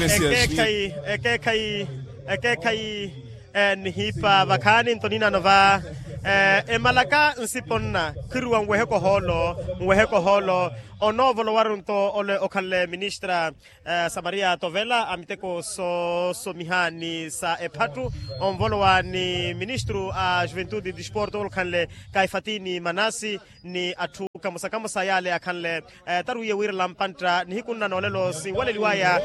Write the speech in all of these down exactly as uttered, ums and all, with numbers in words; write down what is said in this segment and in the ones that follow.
Ekeekhayi, ekeekhayi, ekeekhayi. Nihiipa vakhaani nto ninano va emalaka nsipo nna khwiruwa nwehe kohoolo, nwehe kohoolo. Onoovolowaru nto ole okhanle ministra samaria tovela a miteko soosomiha ni sa ephattu, onvolowa ni ministru a juventude e disporto olukhanle kaifatini manasi, ni atthu kamosa kamosa yaale akhanle tarwiye wiirela mpantta nihiku nna noolelo sinwaleliwaya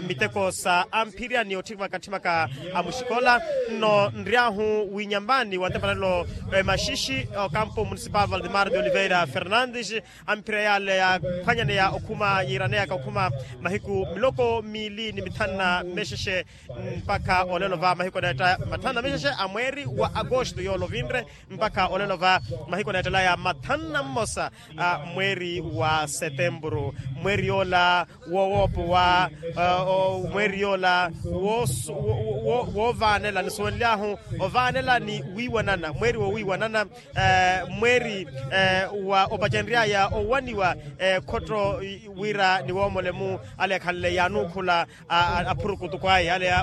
miteko sa amphirya ni otthimaka tthimaka a muxikola. Nno nry'ahu winyambani wa ntepanelo emaxixi okampo municipal valdemar de oliveira fernandes, amphirya yaale yaaphwanyaneya okhuma yiiraneyaka okhuma mahiku miloko miili ni mithanu na mexexe mpakha olelo va mahiku eneetta mathanu na mexexe a mweeri wa agosto yoole ovinre mpakha olelo va mahiku eneettelaya mathanu na mmosa a mweeri wa setempuru. Mweeri yoola wowoopowa mweeri yoola woovaanela nisuwenly'ahu ovaanela ni wiiwanana mweeri wowiiwanana mweeri wa opacenry'aya owaniwa ekhotto wira ni woomole-mu ale akhanle yaanuukhula aphurukutuku aya ale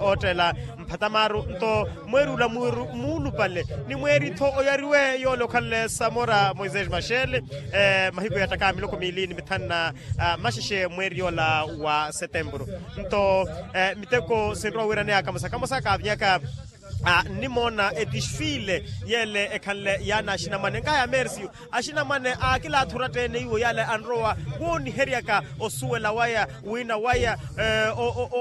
ootteela mphatamaaru nto mweeri ula muulupale ni mweeri-tho oyariwe yoole okhanle samora moisés maxele mahiku ya ttakaya miloko miili ni mithanu na maxexe mweeri yoola wa setempuru. Nto miteko sinrowa wiiraneyaka kamosa kamosa kaavinyaka nnimoona edisfile yeele ekhanle yaana axinamwane nkahaya mercio axinamwane aakilaatha oratteene iwo yaale anrowa wooniheryaka osuwela waya wiina waya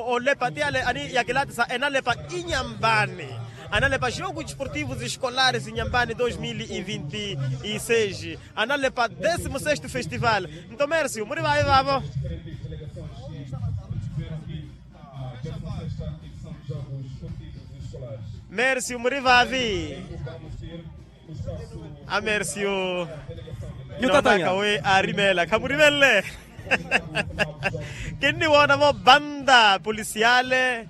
olepa ti yaale ani yakilaatisa enalepa inyambani analepa jogo desportivo escolares inyambani dos mil e vinte e seis analepa décimo sexto festival. Nto mercio muri vaavi vaavo? Mercio muri vaavi? A mercio nnoonaka wi aarimeela khamurimeelle. Kinniwoona-vo banda polisiale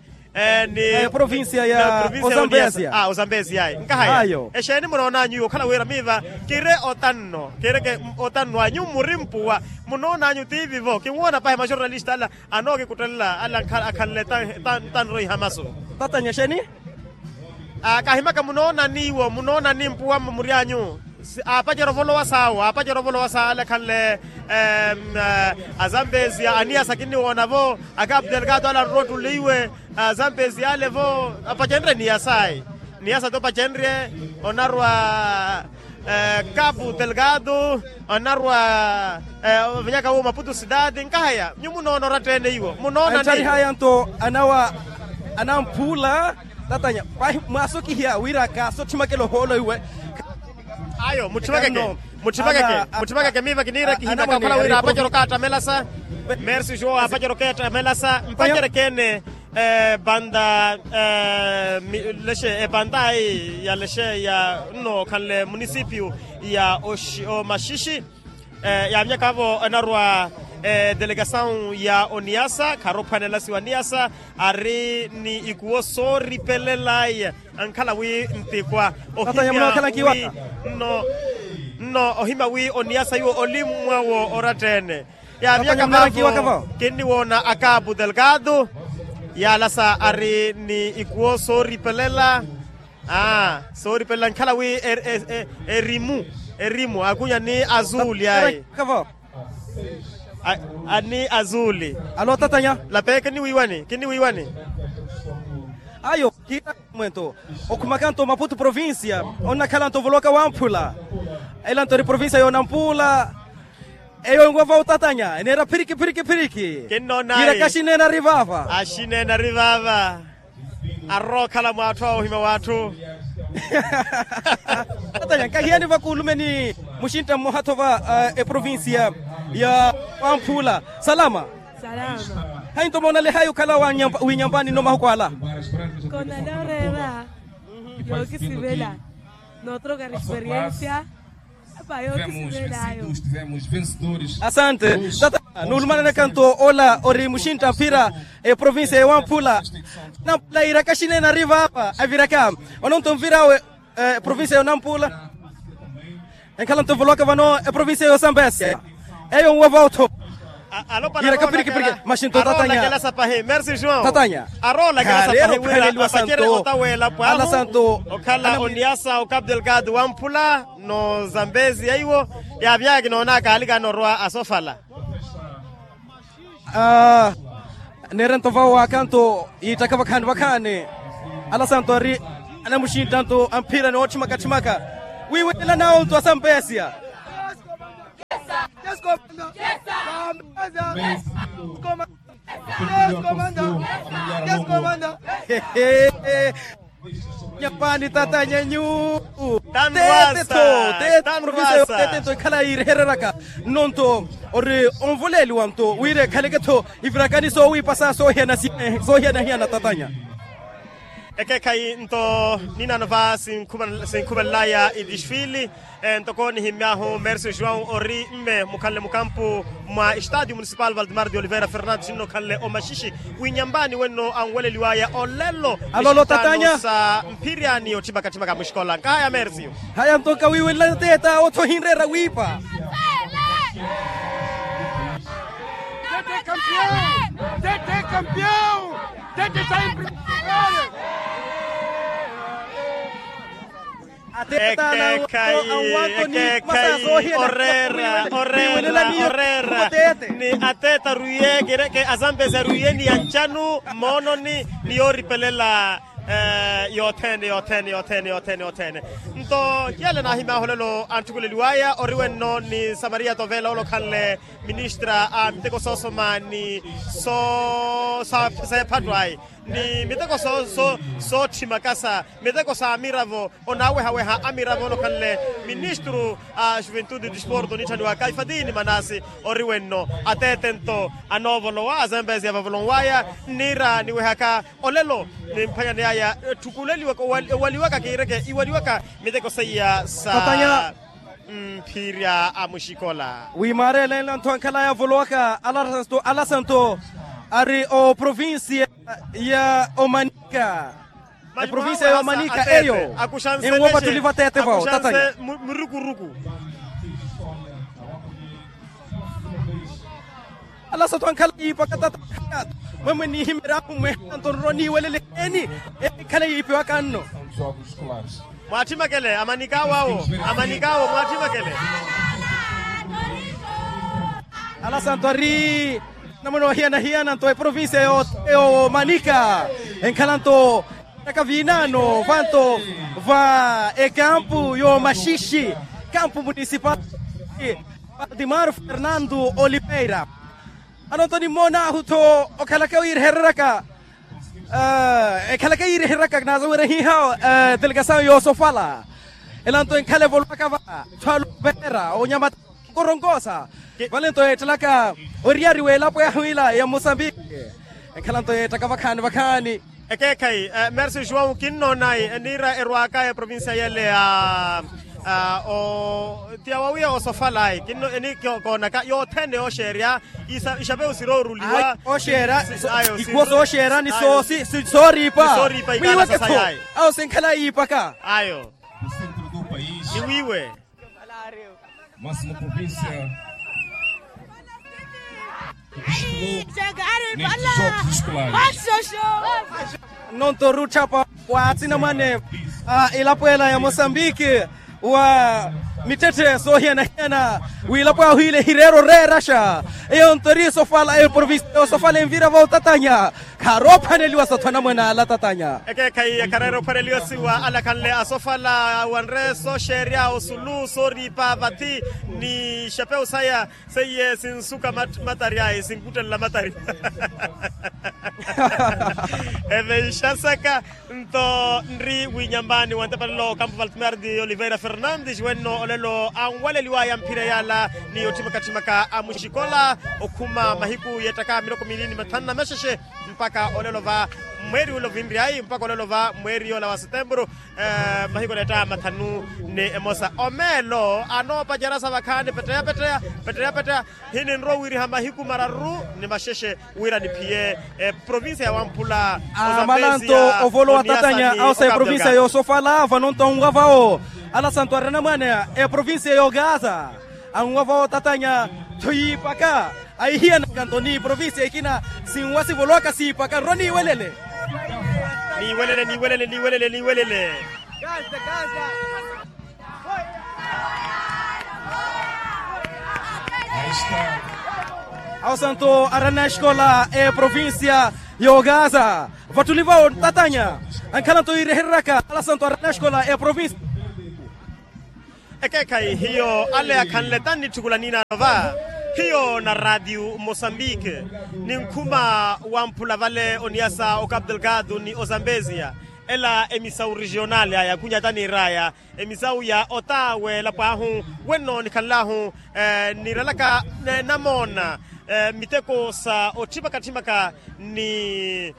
ni provincia ya ozambezia. Ozambezia ayi nkahaya exeeni munoonanyu iwo okhala wira miiva kiri otanno kireke otanno anyu muri mpuwa munoonanyu tiivi-vo kinwoona pahi majornalista ala anookikuttelela ala akhanle tanro ihamasu. Tatanya exeeni? Kahimaka munoonani iwo munoonani mpuwa mmury'anyu? Aapacera ovolowa sawo aapacera ovolowa sawo ale akhanle azambezia aniyasa kinniwoona-vo. Akapu delgado ale anrowa ottuleiwe azambezia ale-vo apacenrye niyas'ayi. Niyasa ti opacenrye onarwa kapu delgado onarwa ovenyaka wo maputu sidadi nkahaya nyu munoona oratteene iwo munoona ni. Enttarihaya nto anawa anamphula tatanya pahi mwaasokihiya wira kaasotthimake lohoolo iwe. Ayo mutthimakeke mutthimakeke miiva kiniira kihimaka okhala wira apacero kaattamelasa. Mercio aapacero keettamelasa mpacerekeene banda lexe ebanda eyi ya lexe ya nno khanle munisipio ya omaxixi. Yaamyaka-vo enarwa edelegasawu ya oniyasa kharophwanelasiwa niyasa ari ni ikuwo sooripelela ankhala wi ntikwa ohimya wi nno nno ohimya wi oniyasa iwo olimmwa wo oratteene. Yaamyaka-vo kinniwoona akapu delgado yaalasa ari ni ikuwo sooripelela sooripelela nkhala wi erimu erimu akunya ni azuli ayi. Ani azuli alo tatanya. Lapee kinniwiiwani kinniwiiwani. Ayo kiira mwento okhumaka nto maputu provincia onnakhala nto ovoloka wamphula ela nto eri provincia yoonampula. Eyo enwova otatanya eneera phiriki phiriki phiriki. Kinnoona ayi. Iraka axineena ari vaava axineena ari vaava. Arrowa okhala mwaathu awo ohima w'atthu. Tatanya nkahiyani vakuulumeni muxintta mmoha-tho va eprovincia ya wamphula. Salama. Hayi nto moonalehayi okhala winyambani nno mahuku ala. Konale oreera yookisivela nootroka experiencia. Asante tata. Nuulumananaka nto ola ori muxintta mphira eprovincia ya wamphula. Namphula iraka axineena ari vaava aviraka ono nto mvir'awe eprovincia yoonampula. Enkhala nto mvoloka vano eprovincia yoosambesa eyo nwo vootho. Alopwana aroola kela sapahi mersi joão tatanya. Aroola kela sapahi wira apacere otaweela pwahu okhala oniyasa o capu delgado wamphula no zambezi yaiwo. Yaavyaya kinoonaka alikana orwa asofala. Neerento vawo wakanto yiittaka vakhaani vakhaani. Alasanto ari anamuxintanto amphira ni ootthimaka tthimaka wiiwela nawo nto asampesiya. Nyapani tatanyanyu. Tete tho tete provincia yo tete nto ekhala yiirehereraka nno nto ori onvoleeliwa nto wira ekhaleke tho ivirakani soowiipasa soohiyana-hiyana tatanya. Ekeekhayi nto ninano va sinkhuvanlaya idisfili. Ntoko nihimmyahu mersi joão ori mme mukhanle mukampu mwa estadio municipal valdemar de oliveira fernandes nno khanle omaxishi winyambani wenno anwaleliwaya olelo. Alolo tatanya sa mphirya ni otthimaka-tthimaka muxikola nkahaya mersi. Haya nto nkawiiwela teeta otho ohinreera wiipa. Tete campeão. Tete campeão. Tete sai primero. Ekeekhayi ekeekhayi oreera oreera oreera ni ateeta arwiye kireke asampesi arwiye ni ya ncanu moononi ni yooripelela. Yothene yothene yothene yothene yothene. Nto yale naahimaahulelo anthukuleliwaya ori wenno ni samaria tovela olokhanle ministra a miteko soosoma ni soo saephattu ayi ni miteko sootthima kasa miteko sa amiravo onaawehaweha amiravo onokhanle ministru a juventude disporto onitthaniwaka ifadini manasi ori wenno ateete nto anoovolowa azembezi avavolonwaya nniira niwehaka olelo nimphanyani aya etthukuleliwaka owaliwaka kiireke iwaliwaka miteko seiya sa mphirya a muxikola. Wi maareela enla ntho ankhalaya avolowaka alasanto ari oprovincia ya omanika eprovincia ya omanika eyo enwopa tuli vateete vawo tatanya. Murukuruku. Alasanto ankhala yiipaka tatanya. Mwemwe nihimeryahu mwehanto nroniiwelele eni enkhala yiipiwaka nno. Mwaathimakele amanikaawo awo amanikaawo mwaathimakele. Alasanto ari namuna ohiyana-hiyana nto eprovincia yo manika enkhala nto naka vinano vanto va ekampu yo maxixi kampu municipal valdimar fernando oliveira. Anonto nimmoonaahu tho okhalaka oyiirehereraka ekhalaka yiiriheraka kinasawerya hiha delegasayo yoosofala elanto enkhala evolowaka va thwalupeera onyamata nkoronkosa. Valinto yeettelaka oriyari w'elapo yahu ila ya mosambiki enkhalanto yeettaka vakhaani vakhaani. Ekeekhayi mersi joão kinnoonayi eniira erwaaka eprovincia yele ya ti awawiya osofalayi kinno eni koonaka yothene yooxeerya. Ixapewu sirooruliwa oxeera ikhuwo sooxeera ni sooriipa sooriipa ikala sasayayi awo sinkhala yiipaka ayo ni wiiwe. Máxima província. Nonto rutthapa wa atsinamwane a ilapwela ya mosambiki wa mittetthe soohiyana-hiyana wiilapo ahu ile hireera oreeraxa eyo nto eri esofala eprovinsi ya osofala envira va otatanya. Khaari ophwaneliwa satthu anamwene ala tatanya. Ekeekhayi khareera ophwaneliwa siwa ala khanle asofala wanre sooxeerya osulu sooriipa vathi ni xapewu saya seiye sinsuka matari ayi sinkuttelela matari. Evexasaka nto nri winyambani wa ntepalelo kampu valtimar de oliveira fernandes wenno olelo anwaleliwaya mphira yala ni otthimaka-tthimaka a muxikola okhuma mahiku yeettaka miloko miili ni mathanu na mexexe mpakha olelo va mweeri ula ovinryayi mpakha olelo va mweeri yoola wa setemburu. Mahiku neetta mathanu ni emosa omeelo anoopacerasa vakhaani petteya petteya petteya petteya. Hininrowa wiriha mahiku mararu ni maxexe wira niphiye eprovincia ya wamphula amalanto ovolowa tatanya awo sa eprovincia yoosofala vanonto anwa vawo. Alasanto ari anamwane eprovincia yookaasa anwa vawo tatanya tho yiipaka. Ahihiyanaka nto ni provincia ekina sinwa sivolowaka siipaka nrwa niiwelele. Niiwelele niiwelele niiwelele niiwelele. Awo santo arana exikola eprovincia y'ogaza vattuli vawo tatanya ankhala nto yiirehereryaka ala santo arana exikola eprovincia. Ekeekhayi hiyo ale akhanle tannitthukula niinaano va hiyo na radio mosambike. Ninkhuma wamphula vale oniyasa ocapu delgado ni ozambezia ela emisawu regionale aya khunyata niir'aya emisawu ya otaawe elapw'ahu wenno nikhanl'ahu niiralaka namoona miteko sa otthimaka-tthimaka ni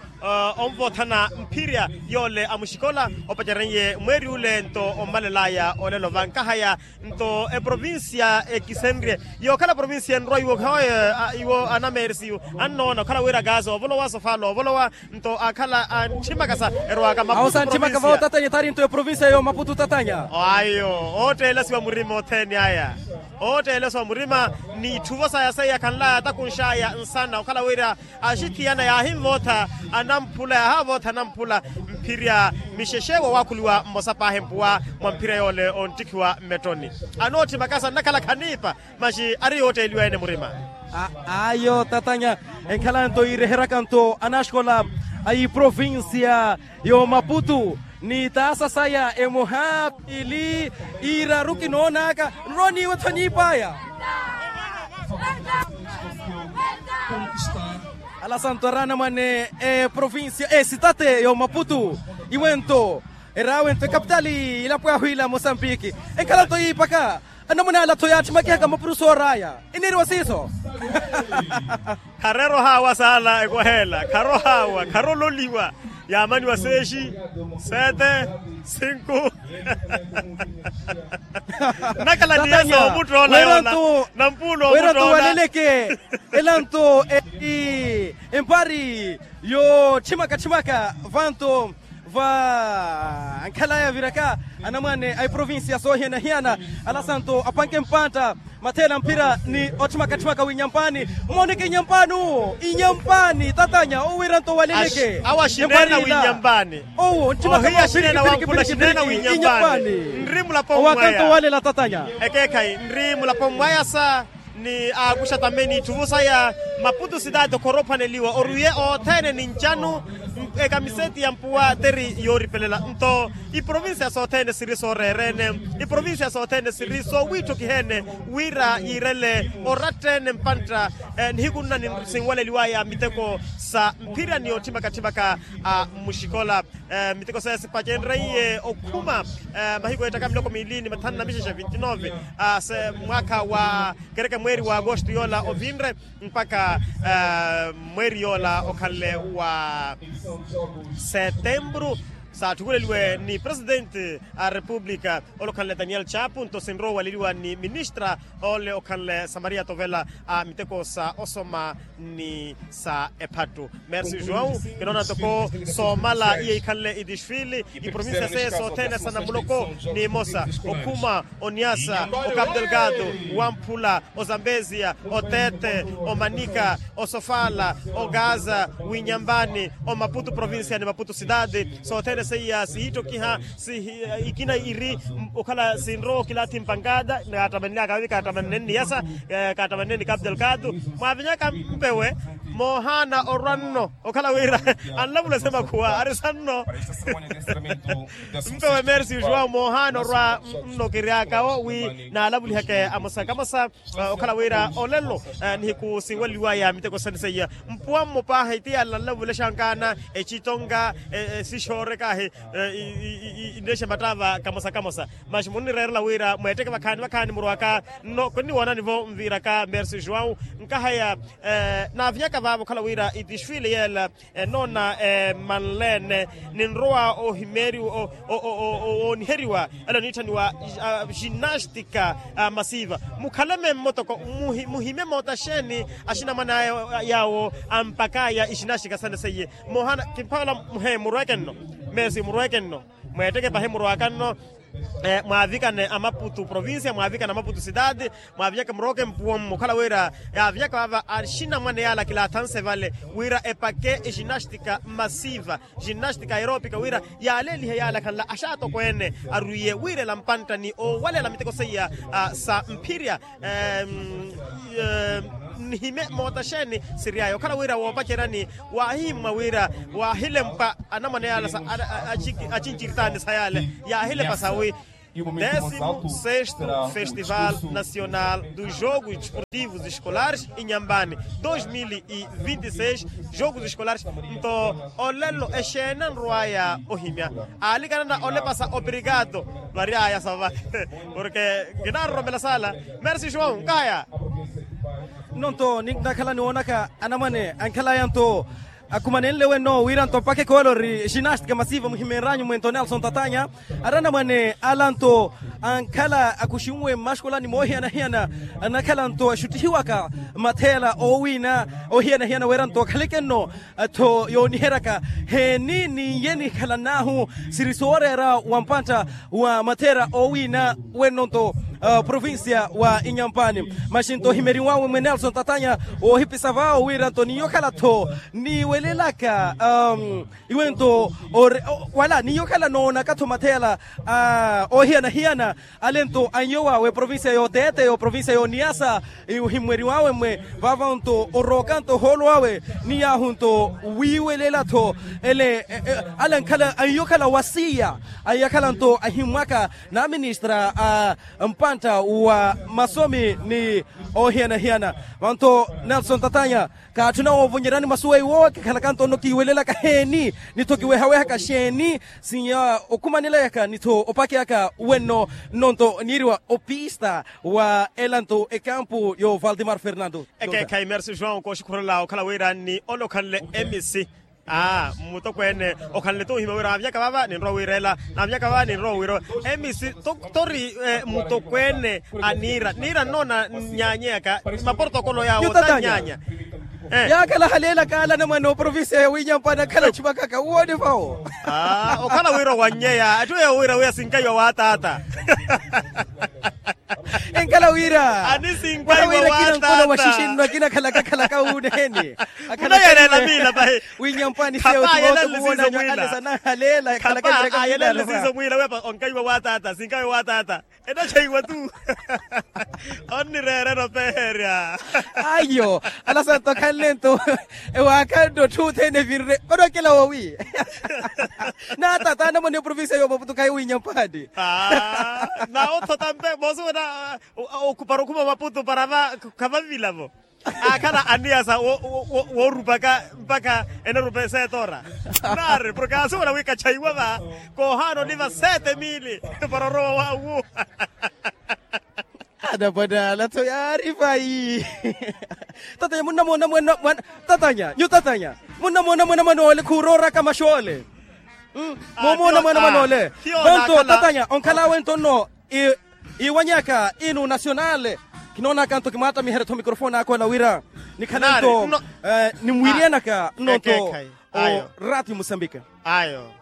onvothana mphirya yoole a muxikola opaceren'ye mweeri ule nto ommalel'aya olelo vankahaya nto eprovincia ekisenrye yookhala provincia enrwa iwo khawoye iwo anamerisiyu annoona okhala wira kaasa ovolowa sofala ovolowa nto akhala antthimaka sa erwaka maputu provincia. Awo santthimaka vawo tatanya ethaari nto eprovincia yo maputu tatanya. Ayo ootteelasiwa murima othene aya ootteelasiwa murima ni itthuvo saya seiya khanlaya atakunx'aya nsana okhala wira axithiyana yaahinvootha anamphula yaahavootha anamphula mphirya mixexe wawakhuliwa mmosa paahi mpuwa mwa mphirya yoole onttikhiwa mmettoni anootthimaka sa nnakhala khaniipa maxi ari yootteeliwa ene murima. Ayo tatanya enkhala nto yiireheryaka nto anaxikola a iprovincia y'omaputu ni taasa saya emoha piili iiraru kinoonaka nrowa niiwetho niip'aya. Ala santo araana mwane eprovincia esitate y'omaputu iwento eraawe nto ekapitali ilapw'ahu ila mosambiki enkhala nto yiipaka. Anamuna ala-tho yaatthimekihaka mapurusu oor'aya iniiriwa siiso. Khareera ohaawa saala ekwaheela kharohaawa kharololiwa yaamaniwa seexi sete sinku. Nnakhala ni yasa omuttoona yoola nampuula omuttoona. Elanto empari yootthimaka-tthimaka vanto vankhalaya viraka anamwane a iprovincia soohiyana-hiyana. Ala santo apanke mpantta matheela mphira ni otthimaka-tthimaka w'inyampaani. Mmooneke inyampaani owo inyampaani tatanya owo wira nto waleleke awo axineena w'inyampaani. Owo ntthimaka ohiya xineena wamphula xineena w'inyampaani nri mulapo mmwaya. Ekeekhayi nri mulapo mmwaya sa ni aakuxa tameni itthuvu saya maputu sitaati okhorophaneliwa oruye othene ni ncanu ekamiseti ya mpuwa teri yooripelela nto iprovincia sothene siri sooreerene iprovincia sothene siri soowiitthokiheene wira yiirele orattene mpantta nihiku nna sinwaleliwaya miteko sa mphirya ni otthimaka-tthimaka a muxikola miteko seye sipacenreiye okhuma mahiku eettaka miloko miili ni mathanu na mixexe vinti nove mwaakha wa kereke mweeri wa agosto yoola ovinre mpakha mweeri yoola okhanle wa setemburu saatthukuleliwe ni presidente a repupulika ole okhanle daniel chapu nto sinrowa owaleliwa ni ministra ole okhanle samaria tovela a miteko sa osoma ni sa ephattu. Merci joão kinoona ntoko soomala iyo ikhanle idisfili iprovincia seye sothene sa namuloko ni imosa okhuma oniasa ocapu delgado wamphula ozambezia otete omanika osofala ogaza winyambani omaputu provincia ni maputu sitati sothene seiya sihitthokiha ikina iri okhala sinrowa okilaathi mpankata kaattamanlyaka vavi kaattamanne nniyasa kaattamanne ni capu delgado mwaavinyaka mpewe moohaana orwa nno okhala wira anlavula semakhuwa ari sanno mpewe merci joão moohaana orwa nno kiryakawo wi naalavuliheke amosa kamosa okhala wira olelo nihiku sinwaleliwaya miteko sene seiya mpuwa mmo paahi ti yala nlavulexa nkaana ecitonga esixoorekahi inlexe mattaava kamosa kamosa maxi munnireerela wira mweetteke vakhaani vakhaani murwaka nno kinniwoonani-vo nviiraka merci joão nkahaya naavinyaka vaavo okhala wira itisfile yeela enoona emanleene ninrowa ohimeeriwa ooniheriwa ela oniitthaniwa ginastika masiva mukhaleme mmotoko muhime moota xeeni axinamwane aya yaawo ampakaya ixinastika sane seiye moohana kimphavala muhe murweke nno meesi murweke nno mweetteke pahi murwaka nno Mwaavikane amaputu provincia mwaavikane amaputu cidade, mwaavinyaka murooke mpuwommo okhala wira yaavinyaka vaava axinamwane yaala kilaathanse vale wira epake ginastika masiva, ginastika aeropika wira yaaleelihe yaala khanla axaatokweene arwiye wiirela mpantta ni oowaleela miteko seiya sa mphirya. Nihime moota xeeni siry'aya okhala wira woopaceryani waahihimmwa wira waahilempa anamwane yaala sa acinciritaani sa yaale yaahilepa sawi. Décimo sexto festival nacional dos jogos desportivos escolares inyampani dois mil e vinte e seis. Jogos escolares nto olelo exeeni anrw'aya ohimya aalikanana olepasa obrigado. Vary'aya sava porke kinaroromela saala. Merci joão nkaya. Nno nto ninakhala niwoonaka anamwane ankhalaya nto akhumanenle wenno wira nto mpakha ekoolo ori ginastika masiva muhimeeryanyu mwento nelson tatanya. Ari anamwane ala nto ankhala akhuxinwe mmaxikola ni moohiyana-hiyana anakhala nto axuttihiwaka matheela oowina oohiyana-hiyana wira nto akhaleke nno atho yooniheryaka heeni ni iye nikhalanahu siri sooreera wa mpantta wa matheera oowina wenno nto provincia wa inyampani. Maxi nto ohimeriwawe mwe nelson tatanya woohipisa vaawo wira nto niyo okhala-tho niiwelelaka iwe nto wala niyo okhala noonaka-tho matheela oohiyana-hiyana ale nto anyo wawe provincia yoteete yo provincia yoniyasa. Ohimmweriwawe mwe vaava nto orooka nto ohoolo wawe ni yaahu nto wiiwelela-tho ele ale ankhala anyo okhala wasiya anyakhala nto ahimmwaka na ministra a mpantta wa masomi ni oohiyana-hiyana. Vanto nelson tatanya kaatthuna woovonyerani masu weiwo kikhalaka nto nno kiiwelelaka heeni ni-tho kiwehawehaka xeeni sinya okhumaneleyaka ni-tho opakeyaka wenno nno nto niiriwa opista wa ela nto ekampu yo valdemar fernando. Ekeekhayi merci joão kooxikhurela okhala wira ni ole okhanle emisi aa mmutokweene okhanle-tho ohimya wira naamyaka vaava ninrowa wiirela naamyaka vaava ninrowa wiirela emisi tori mmutokweene a niira niira nnoona nnyanyeyaka maporotokolo yaawo tannyanya. Yaakhala haleelaka ala anamwane oprovincia ya winyampani akhala achumaka kawoone vawo okhala wira owannyeya atthu eyo wira wiya sinkaiwa waataata. Enkhala wira ani sinkaiwa waataata. Kina nkono wa xixinno akina akhalaka akhalaka wuuneheni akhalaka winyampani seyo tuwoona ale sanahaleela akhalaka. Ayelanle siizo mwiila wiya onkaiwa waataata sinkaiwa waataata. Enacheiwa tu onnireerera opeherya. Ayo ala santo khanle nto ewaakhanno otthu othene evinre vanokela wowi. Naatata anamwane provincia yomaputu khayi winyampani. Nawo othota mpe moosi wena para okhuma omaputu para va khavanvilavo. Akhala aniyasa woorupaka mpakha enarupa esetora. Naari porke aasivona wi kachaiwa va koohaana oliva sete mili para orowa wawu. Anapwan'ala-tho yaari vayi. Tatanya munnamoona mwana tatanya nyu tatanya munnamoona mwana mwan'ole khuurooraka max'ole. Moomoona mwana mwan'ole. Vanto tatanya onkhal'awe nto nno iwanyaka inu nacional. Kinoonaka nto kimwaattamiherya-tho mikrofoni aka ola wira nikhale nto nimwiiriyanaka nno nto orati musambika. Ayo